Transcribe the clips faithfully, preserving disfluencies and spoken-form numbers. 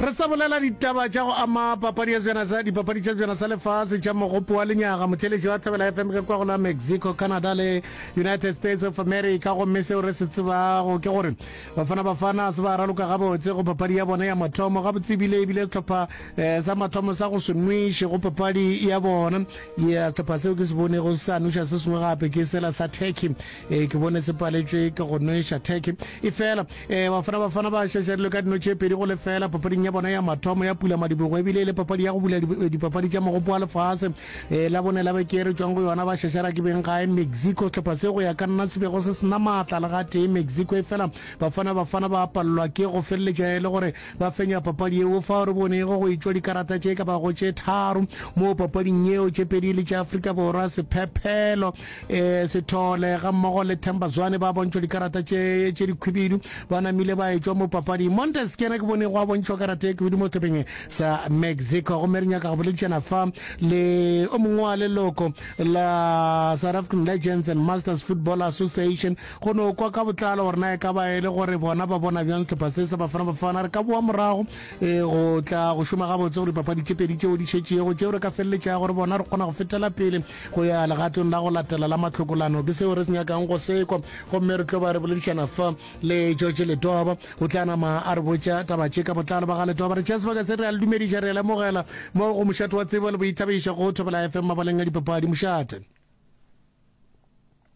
Re sa bolela ditaba tša go ama papadi ya sejana sa dipapadi tša sejana sa lefase tša mogopo wa lenyaga. Motheeletši wa Thobela F M ke kwa go la Mexico, Canada le United States of America, gomme seo re se tsebago ke gore Bafana Bafana se ba raloka gabotse go papadi ya bona ya mathomo gabotse, ebile ebile sehlopha eh, sa mathomo sa go se nweše go papadi ya bona ya sehlopha seo ke se bonego se sa nweša se sengwe gape ke sela sa Turkey. Eh, ke bone se paletšwe ke go nweša Turkey, efela eh, Bafana Bafana ba šašarilwe ka dino tše pedi go lefela papading ya bona ya mathomo ya pula madibogo, ebile e le papadi ya go bula dipapadi tša mogopo wa lefase. E, la bone la beke re tšwang go yona ba šašara ke beng gae Mexico, sehlopha se go ya ka nna se bego se sena maatla le gatee Mexico, efela Bafana Bafana ba palelwa ke go feleletša e le gore ba fenya papadi yeo. Fao re bonego go etšwa dikarata tše ka bago tše tharo mo papading yeo, tše pedi le tša Afrika Borwa, Sephephelo e, Sethole gammogo le Themba Zwane ba bontšhwa dikarata tše tše dikhwibidu, ba namile ba etšwa mo papading. Montes ke yena ke bone go a bontšhwa karata e khwibidu mo sehlopheng sa Mexico. Gomme re nyaka go boledišana fa le o mongwe wa leloko la South African Legends and Masters Football Association go no kwa ka botlalo gore na e ka ba e le gore bona ba bona bjang sehlopha se sa Bafana Bafana. Re ka boa morago e, go tla go šoma gabotse go dipapadi tše pedi tšeo di šetšego tšeo re ka feleletšago gore bona re kgona go fetela pele go ya legatong la go latela la mahlokolano. Ke seo re se nyakang go sekwa, gomme re tlo ba re boledišana fa le George Letwaba, o tla nama a re botša taba tše ka botlalo. Ba ga Letwaba, re tšea sebaka se re a le dumediša, re a lemogela mo go Mošate wa Tsebo le Boithabišo go Thobela F M mabaleng a dipapadi. Mošate.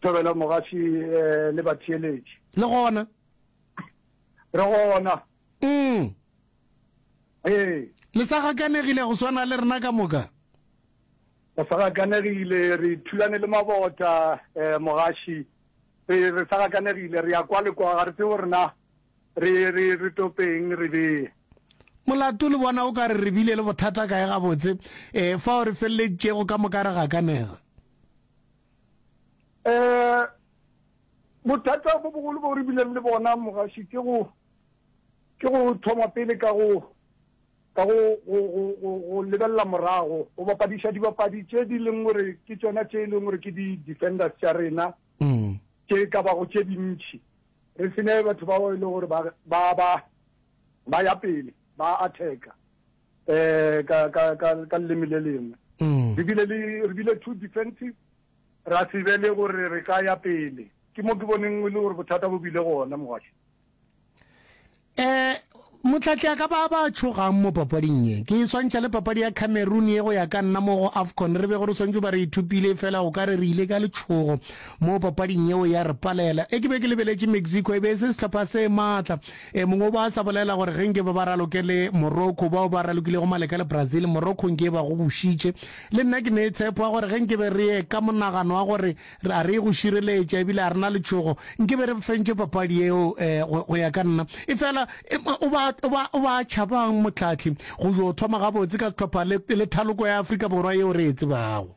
Thobela mogaši eh, le batheeletši. Le gona? Re gona. Mm. Ee. Le sa gakanegile go swana le rena ka moka? Re sa gakanegile, re thulane le mabota, eh, mogaši. Re, re sa gakanegile, re ya kwa le kwa, ga re tsebe gore na re, re, re topeng, re bee. Molato le bona o ka re re bile le bothata kae gabotse, eh, fao re feleleditšego ka moka re gakanega? Eh, bothata bo bogolo bo re bileng le bona, mogaši, ke go, ke go thoma pele ka go, ka go, go, go, go, go lebelela morago, go bapadiša dibapadi tše di leng gore ke tšona tše e leng gore ke di-defenders tša rena, Mm. tše ka bago tše dintši. Re se ne batho bao e leng gore ba, ba, ba, ba ya pele, ba attacka, eh, ka, ka, ka, ka leleme le lengwe. Mm. Re bile le, re bile too defensive, ra se be le gore re ka ya pele. Ke mo ke boneng e le gore bothata bo bile gona, mogaši. Eh, motlhatli a ka ba ba tšhogang mo papading ye. Ke e swantšha le papadi ya Cameroon ye go ya ka nna mo go AFCON re bego re swantšwe ba re ithupile, fela o ka re re ile ka letšhogo mo papading yeo ya re palela. E ke be ke lebeletše Mexico, e be e se sehlopha se maatla. E mongwe o ba a sa bolela gore ge nke ba ba raloke le Morocco, bao ba ralokilego maleka le Brazil, Morocco nke ba go bušitše. Le nna ke ne tshepo ya gore ge nke be re ye ka monagano wa gore re a re ye go šireletša ebile a re na letšhogo, nke be re fentše papadi yeo, eh, go, go ya ka nna. Efela e, o ba, o ba, o ba tšhabang mohlahli go yo thoma gabotse ka sehlopha le, le thaloko ya Afrika Borwa yeo re e tsebago.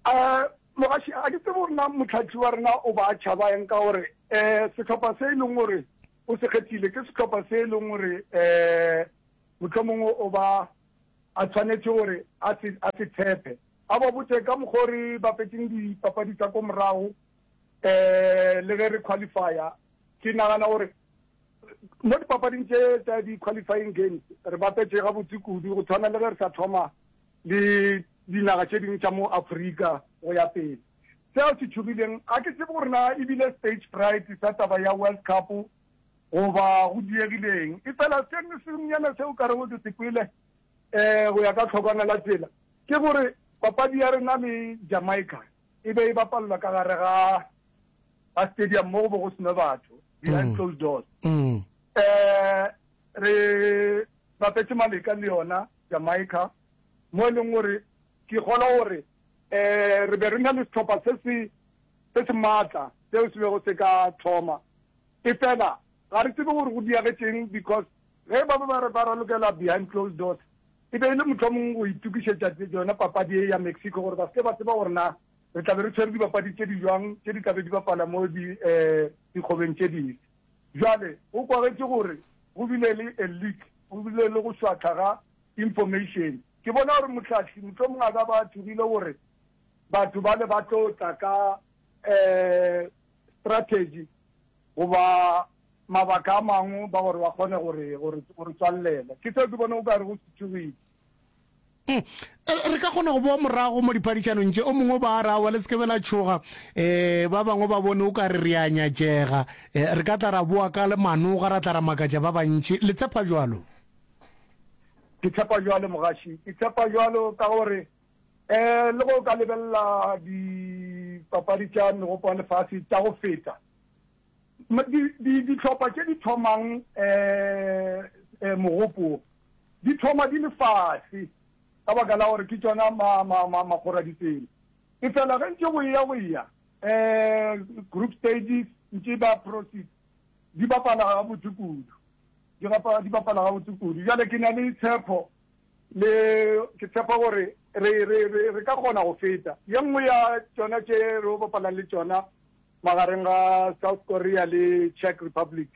Eh, mogaši, ga ke tsebe gore na mohlahli wa rena o ba tšhaba eng, ka gore, eh, sehlopha se e leng gore o se kgethile ke sehlopha se e leng gore, eh, mohlomongwe o ba a tshwanetše gore a se, a se tshepe. A ba botše ka mokgwa o re bapetšeng dipapadi tša ko morago, eh, le ge re qualifya. Ke nagana gore mo dipapading tše tša di-qualifying games re bapetše gabotse kudu, go tshwana le ge re sa thoma le dinaga tše dingwe tša mo Afrika go ya pele. Seo se tšhogileng, ga ke tsebe gore na ebile stage fright sa taba ya World Cup goba go diegileng, efela se sengwenyana seo ka rego ke se kwele, eh, go ya ka tlhokwana la tsela, ke gore papadi ya rena le Jamaica e be e bapalelwa ka gare ga, ga stadium mo go be go sena batho, behind Mm. closed doors. Mm. Eh, re bapetše maleka le yona Jamaica, mo e leng gore ke kgolwa gore, eh, re be re na le sehlopha se se, se se maatla seo se bego se ka thoma. Efela ga re tsebe gore go diagetšeng, because ge ba be ba re ba ralokela behind closed doors, e be e le mohlomong go itokišetša yona papadi e ya Mexico, gore ba se ke ba tseba gore na re tla be re tshwere dibapadi tše di jwang tše di tla be di bapala mo di, eh, dikgobeng tše dife. Bjale go kwagetše gore go bile le a leak, go bile le go šwahla ga information. Ke bona gore mohlahli mohlomong a ka ba a tšhogile gore batho bale ba tlo tla ka, eh, strategy goba mabaka a mangwe ba gore ba kgone gore gore gore tswallela. Ke seo ke bone o ka re go setsogile. Mm. Re ka kgona go boa morago mo diphadišanong tše, o mongwe ba ra wa le se ke be la tšhoga, um ba bangwe ba bone o ka re re a nyatšega, um re ka tla ra boa ka le manoga, ra tla ra makatša ba bantši. Le tshepa jwalo? Ke tshepa jwalo, mogaši, ke tshepa jwalo ka gore um le go ka lebelela dipapadi tša megopo wa lefase tša go feta, dihlopha tše di thomang um mogopo di thoma di le fase ka baka la gore ke tšona makgoraditsela. E fela ge ntše go eya go eya um group stages ntše ba proceed, di bapala gabotse kudu, di bapala gabotse kudu. Bjale ke na le tshepo le ke tshepa gore re re re re ka kgona go feta. Ye nngwe ya tšona tše re bapalang le tšona magareng ga South Korea le Czech Republic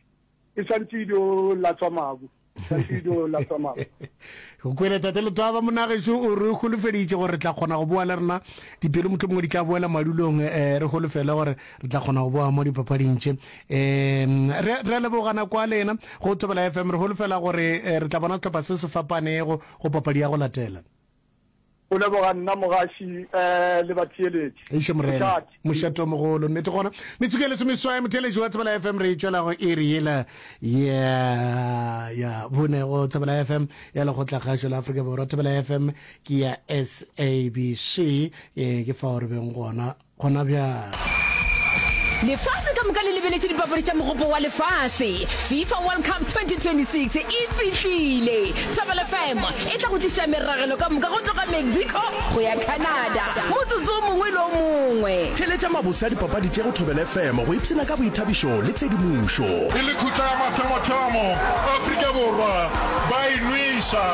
e swantše e dio latswa mabu, swantše e dio latswa mabu. Go kwele tate Letwaba, monagešo, o re holofeditše gore re tla kgona go boa le rena, dipelo mohlomongwe di tla boela madulong, um re holofele gore re tla kgona go boa mo dipapading tše. Um re re a leboga nako ya lena go Thobela F M, re holofela gore re tla bona sehlopha se se fapanego go papadi ya go latela. O leboga nna mogaši um le batheeletši. Eiše morena, mošate o mogolo, nnete gona. Metsotso e lesomeswai, motheeletši wa Thobela F M, re e tšwela go iri yela ya ya bone go Thobela F M ya Lekgotlakgašo la Afrika Borwa. Thobela F M ke ya S A B C, e ke fao re beng gona gona bjale. Lefase ka moka le lebeletše dipapadi tša Mogopo wa Lefase. FIFA World Cup twenty twenty-six e fihlile! Thobela F M e tla go tliša meragelo ka moka go tloga Mexico go ya Canada motsotso o mongwe le o mongwe. Theeletša mabose a dipapadi tše go Thobela F M go ipshina ka boithabišo le tshedimošo. E le khutla ya mathomothomo, Afrika Borwa ba e nweša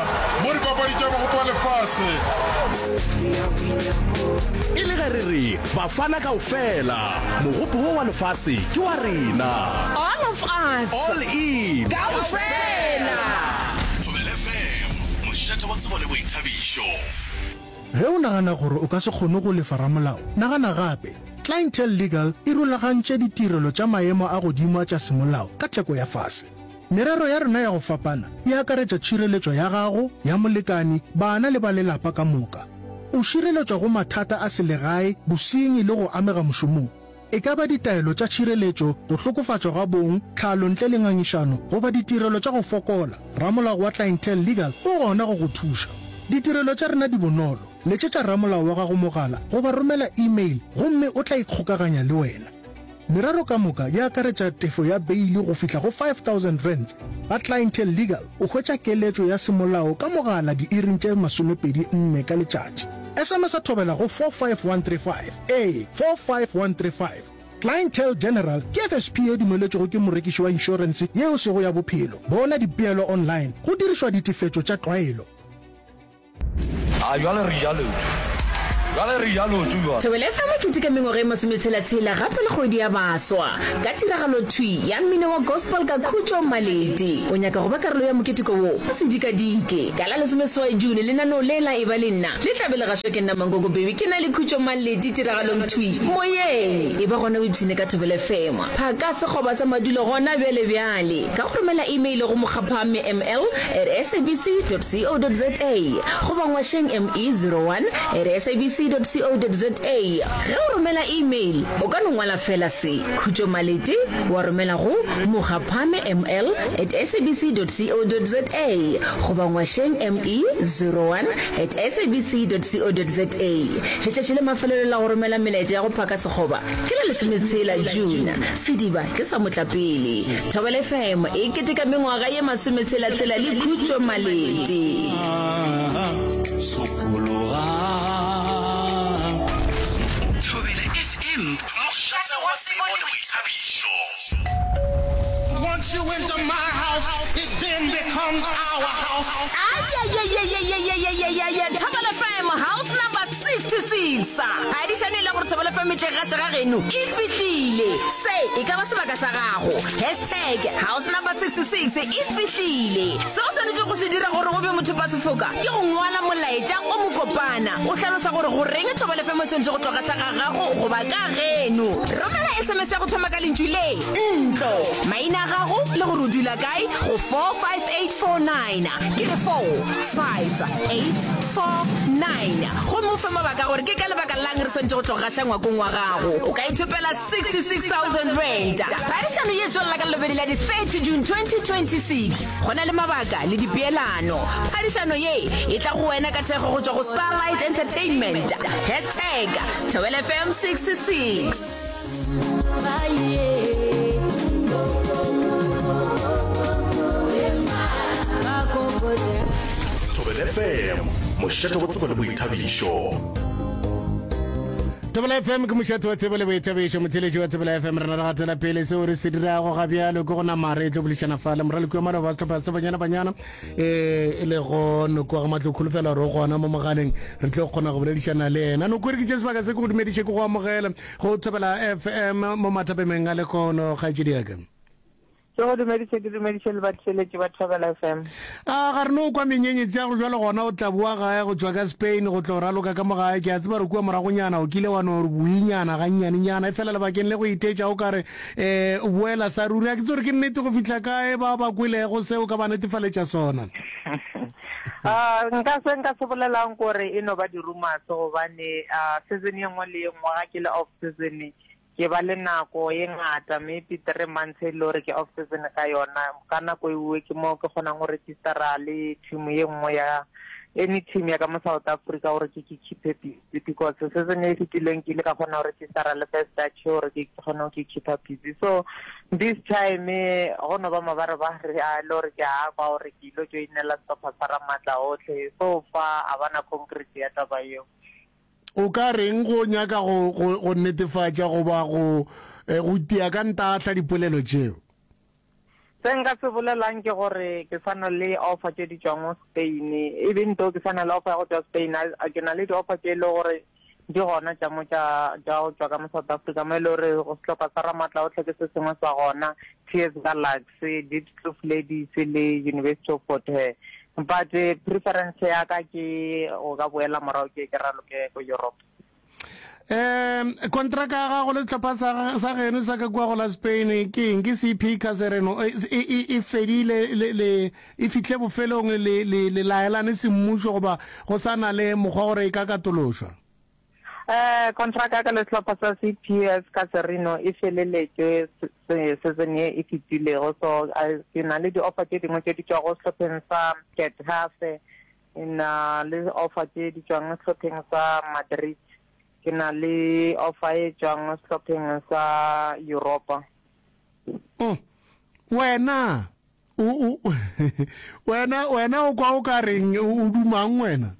mo dipapadi tša Mogopo wa Lefase. E le ge re re Bafana kaofela, mogopo wo wa lefase ke wa rena. All of us. All in. Kaofela. Thobela F M, mošate wa tsebo le boithabišo. Ge o nagana gore o ka se kgone go lefa ramolao, nagana gape. Clientele Legal e rulagantše ditirelo tša maemo a godimo tša semolao ka theko ya fase. Merero ya rena ya go fapana e akaretša tšhireletšo ya gago, ya molekani, bana le ba lelapa ka moka. O šireletšwa go mathata a selegae, bosenyi le go amega mošomong. E ka ba ditaelo tša tšhireletšo, go hlokofatšwa ga bong, tlhalo ntle le ngangišano, goba ditirelo tša go fokola, ramolao wa Clientele Legal o gona go go thuša. Ditirelo tša rena di bonolo. Letšetša ramolao wa gago mogala goba romela email gomme o tla ikgokaganya le wena. Merero ka moka e akaretša tefo ya beili go fihla go five thousand rands. Ga Clientele Legal o hwetša keletšo ya semolao ka mogala diiring tše masomepedi nne ka letšatši. S M S a thobela go four five one three five. Ee, four five one three five. Clientele General ke F S P e dumeletšwego ke morekiši wa inšorense yeo sego ya bophelo. Bona dipeelo online go dirišwa ditefetšo tša tlwaelo. A jwale re ja leoto. Jwale re ja leoto jwale. Thobela F M e keteka mengwaga e masometshela-tshela gape le kgwedi ya baswa ka tiragalo thwi ya mmino wa gospel ka Khutšo Maleti. O nyaka go ba karolo ya moketeko wo? O se dikadike. Ka la lesomeseswai June lenaneo le la Eba le Nna le tla be le gašwa ke nna Mankoko Baby ke na le Khutšo Maleti tiragalong thwi moyeng. Eba gona o ipshine ka Thobela F M. Phaka sekgoba sa madulo gona bjale bjale ka go romela email go mokgaphame M L at S A B C dot C O dot Z A goba ngwašeng M E zero one at S A B C dot C O dot Z A. Ge o romela email o ka no ngwala fela se Khutšo Malete wa romela go mokgaphame M L at S A B C dot C O dot Z A goba ngwašeng M E zero one at S A B C dot C O dot Z A. Letšatši le mafelelo la go romela melaetša ya go phaka sekgoba ke la lesometshela June. Sediba ke sa motlapele. Thobela F M e keteka mengwaga ye masometshela-tshela le Khutšo Malete. Thobela F M, mošate wa tsebo le boithabišo. Once you enter my house, it then becomes our house. Ayayayayayayayayaya, Thobela F M, house number sixty six. Phadišano e la gore Thobela F M e tle gaša ga geno e fihlile. Se e ka ba sebaka sa gago. Hashtag house number sixty six e fihlile. Se o swanetšego go se dira gore o be mothopasefoka ke go ngwala molaetša o mokopana o hlalosa gore goreng Thobela F M e swanetše go tlo gaša ga gago goba ka geno. Romela S M S ya go thoma ka lentšu le ntlo, maina a gago le gore o dula kae go four five eight four nine, ke re four five eight four nine, gomme o fe mabaka a gore ke ka lebaka la'ng re swanetše go tlo gaša ngwakong wa gago. O ka ithopela sixty six thousand rand. Phadišano ye e tswelela ka Lelobedi la di thirty June twenty twenty six. Go na le mabaka le dipeelano. Phadišano ye e tla go wena ka thekgo go tšwa go Starlight Entertainment. Hashtag Thobela F M sixty six. Thobela F M, mošate wa tsebo le boithabišo. Thobela F M ke mošate wa tsebo le boithabišo. Motheeletši wa Thobela F M, rena re gatela pele. Seo re se dirago ga bjalo ke go nama re tlo boledišana fa le moraloki wa maloba wa sehlopha sa Banyana Banyana, e lego Noko wa ga Matlo. Kholofela gore o gona mo mogaleng, re tlo kgona go boledišana le yena. Noko, re ke tše sebaka se ke go dumediše, ke go amogele go Thobela F M mo mathapemeng a lekgono, kgaetšedi ya ka. Ke go dumediše, ke dumediše le batheeletši ba Thobela F M. A ga re no kwa menyenyetsi ya go jwalo gona o tla boa gae go tšwa ka Spain go tlo raloka ka mo gae. Ke a tseba re kua moragonyana o kile wa no re boinyana gannyanenyana, efela lebakeng le go itetša o ka re um o boela sa ruri. A ke tsebe gore ke nnete go fihla kae, ba ba kwelego seo ka ba netefaletša sona. Ah, nka se nka se bolelang gore e no ba di-rumors, gobane ah, season ye nngwe le ye nngwe ga ke le off season ke ba le nako ye ngata, maybe three months e le gore ke off season ka yona. Ka nako ewe ke mo ke kgonang go registera le team ye nngwe ya any team ya ka mo South Africa gore ke ke keep busy, because season e fetileng ke ile ka kgona go registera le First Dutch gore ke kgone go ke keep busy. So this time eh, go no ba mabarebare a le gore ke a kwa gore ke ilo joinela sehlopha sa Ramatla Otlhe. So far a bana concrete ya taba eo. O ka reng go nyaka go go go netefatša goba go eh, go tia ka ntahla dipolelo tšeo? Se nka se bolelang ke gore ke sana le offer tše di tšwang mo Spain, even though ke sana le offer ya go tšwa Spain, a ke na le di-offer tše e le gore di gona tša mo tša tša go tšwa ka mo South Africa, mo e le gore go sehlopha sa Ramatla Otlhe ke se sengwe sa gona, T S Galaxy, Diepsloot Ladies le University of Fort Hare, but eh, preference ya ka ke go ka boela morago ke ke raloke ko Europe. Um kontraka ya gago le sehlopha sa sa geno sa ka kua go la Spain ke eng? Ke C P Casereno, e e e fedile le le e fihle bofelong, le le le laelane semmušo, goba go sa na le mokgwa gore e ka katološwa? Eh contract ya ka le sehlopha sa C P S Caserino e feleletše season ye e fetilego, so ke na le di-offer tše dingwe tše di tšwago sehlopheng sa Getafe, ke na le offer tše di tšwang sehlopheng sa Madrid, ke na le offer e tšwang sehlopheng sa Europa. Mm. Wena o o wena wena o kwa o ka reng, o dumang wena?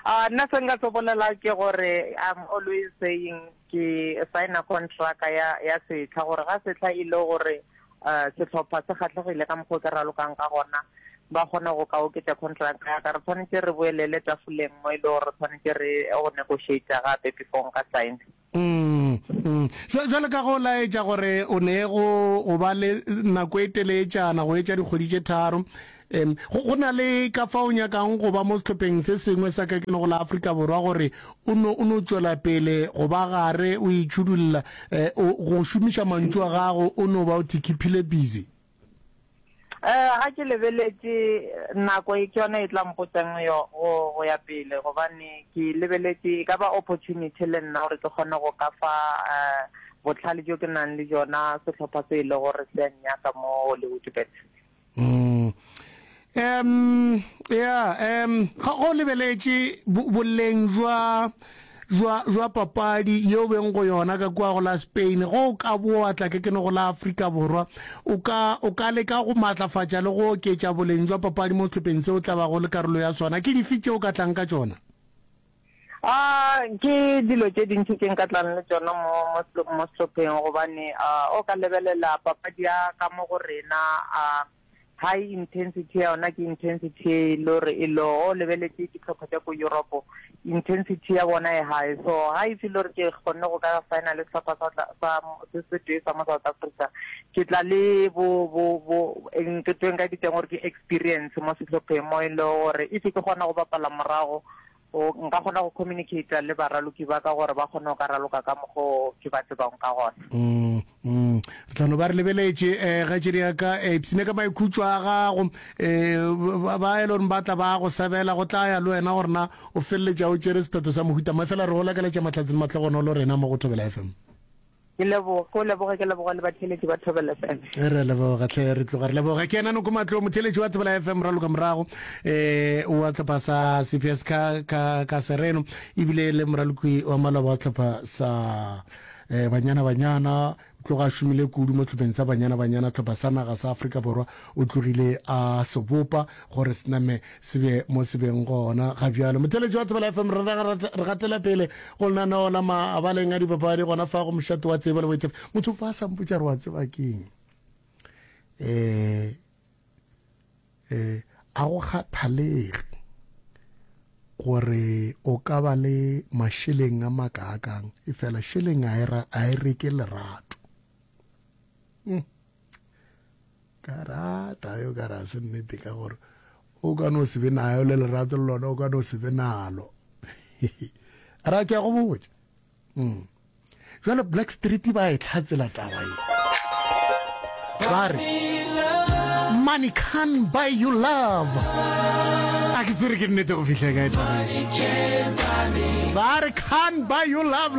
Ah, nna se nka se bolela ke gore I'm always saying ke signa contract ya ya setlha, gore ga setlha e le gore uh sehlopha se kgatlhegile ka mokgwa o ke ralokang ka gona, ba kgone go ka oketša contract ya ka, re tshwanetse re boelele tafoleng mo e le gore re tshwanetse re go negotiate gape before nka sign. Mm, mm. Jwale ka go laetša gore o ne go go ba le nako e teletšana go etša dikgwedi tše tharo, um go na le ka fa o nyakang go ba mo sehlopheng se sengwe sa ka keno go la Afrika Borwa, gore o no o no tšwela pele go ba gare o itšhudulla, um go šomiša mantšu a gago, o no ba o thikiphile busy? Eh ga ke lebeletše nako e, ke yona e tla mpotsang yo go go ya pele, gobane ke lebeletše e ka ba opportunity le nna gore ke kgone go ka fa eh botlhale jo ke nang le jona sehlopha se e le gore se a nnyaka mo Hollywood Bet. Mm. Um ya um ga go lebeletše boleng jwa jwa jwa papadi yeo beng go yona ka kua go la Spain, go ka boa tla ke kene go la Afrika Borwa, o ka o ka leka go maatlafatša le go oketša boleng jwa papadi mo sehlopheng seo tla bago le karolo ya sona, ke dife tšeo ka tlang ka tšona? Ah, ke dilo tše dintši tše nka tlang le tšona mo mo mo sehlopheng, gobane o ka lebelela papadi ya ka mo go rena, a High intensity ya yona ke intensity e le gore e lo o lebeletše dihlopha tša ko Europe, intensity ya bona e high. So ga e feel gore ke kgonne go ka signa le sehlopha sa sa se se tee sa mo South Africa, ke tla le bo bo bo ke tweng ka diteng gore ke experience mo sehlopheng mo e le gore if ke kgona go bapala morago o nka kgona go communicate le baraloki ba ka gore ba kgone go ka raloka ka mokgo ke ba tsebang ka gona. Mm, mm. Re tla no ba re lebeletše eh, kgaetšedi ya ka eh, ipshine ka maikhutšo a gago eh, ba ba e le gore ba tla ba go sebela go tla ya le wena gore na o feleletša o tšere sephetho sa mohuta mang fela re go lakaletša mahlatse le mahlogonolo rena mo go Thobela F M. Ke leboga, ko leboga, ke leboga le batheeletši ba Thobela F M. Re a leboga hle, re tloga re leboga. Ke yena Noko Matlou, motheeletši wa Thobela F M, raloka morago um wa hlopha sa C P S ka, ka, ka Sereno, ebile le moraloki wa maloba wa hlopha sa eh, Banyana Banyana. O tloga a šomile kudu mo hlopheng sa Banyana Banyana, hlopha sa naga sa Afrika Borwa. O tlogile a se bopa gore se name se be mo se beng gona ga bjalo. Motheeletši wa Thobela F M, re re gatela pele go lenaneo la mabaleng a dipapadi gona fa go mošate wa tsebo le boitshepo. Motho fa a sa mpotša re wa tseba keng? Eh, eh, a go kgathalege gore o ka ba le mašeleng a makaakang, efela šeleng a e ra a e reke lerato. Mm. Ka rata yo ka ra se nnete ka gore o ka no se be nayo le lerato le lona o ka no se be nalo. Ra ke a go botša. Mm. Jwale Black Street ba e tlhatsela taba ye. Ba re money can buy you love. A ke tsere ke nnete go fihla kae taba ye. Ba re can buy you love.